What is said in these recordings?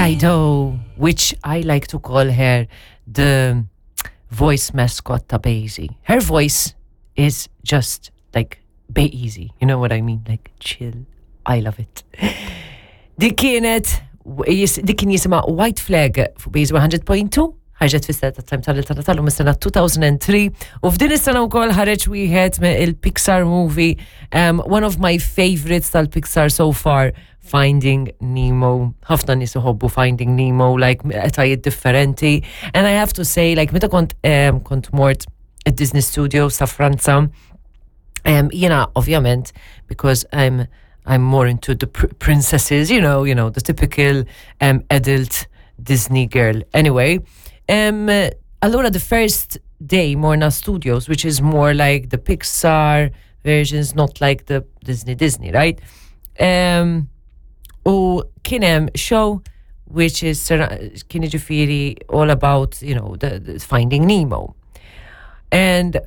Dido, which I like to call her the voice mascot ta' Basie. Her voice is just like Bay Easy, you know what I mean? Like chill. I love it. Dik kienet, dik kien jisima White Flag fuq Base 100.2, ħarġet fis ta' time tal tal tal sena 2003 u f'din is-sena wkoll ħareġ wieħed me il-Pixar movie, um, one of my favorites tal-Pixar so far, Finding Nemo. Ħafna nies iħobbu Finding Nemo, like etajiet differenti. And I have to say, like meta kont um, kont mort id-Disney Studios ta' Franza, um, jiena ovvjament because I'm I'm more into the pr princesses, you know, you know, the typical um, adult Disney girl. Anyway, um, allura the first day Morna Studios, which is more like the Pixar versions, not like the Disney Disney, right? Um, u kien hemm show which is kien jiġifieri all about, you know, the, the Finding Nemo. And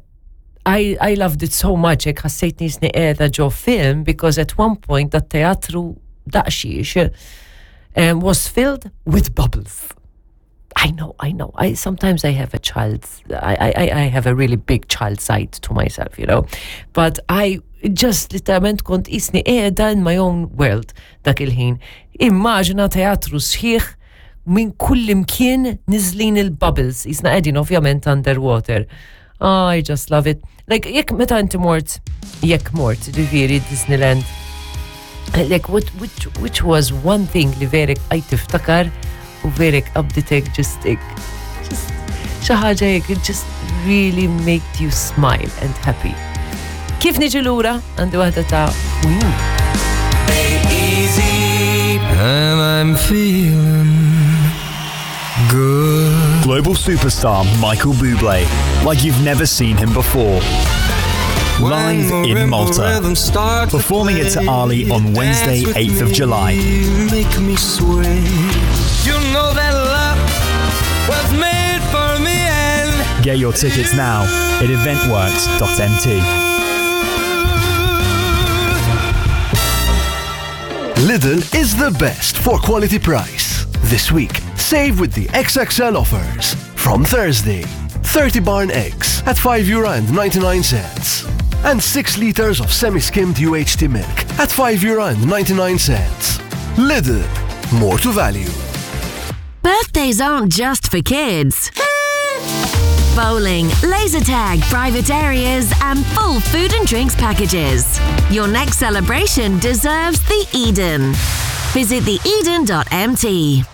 I, I loved it so much, hekk ħassejt nisni qiegħda ġo film because at one point dat teatru daqxiex um, was filled with bubbles. I know, I know. I sometimes I have a child. I, I, I have a really big child side to myself, you know. But I just literalment kont isni qiegħda in my own world dak il-ħin. Immaġina teatru sħiħ minn kull imkien niżlin il-bubbles, jisna qegħdin ovvjament underwater. Oh, I just love it. Like, jekk meta inti mort, jekk mort, ġifieri Disneyland, like what, which, which was one thing li verek għaj tiftakar u verek qabditek just just xi ħaġa jekk it just really made you smile and happy. Kif niġi lura għandi waħda ta' Queen. And I'm feeling good. Global superstar Michael Bublé, like you've never seen him before. Live in Malta, performing at Ali on Wednesday, 8th of July. Make me sway. You know that love was made for me and Get your tickets now at eventworks.mt. Lidl is the best for quality price. This week, save with the XXL offers. From Thursday, 30 barn eggs at €5.99 and 6 liters of semi-skimmed UHT milk at €5.99. Lidl, more to value. Birthdays aren't just for kids. Bowling, laser tag, private areas, and full food and drinks packages. Your next celebration deserves the Eden. Visit theeden.mt.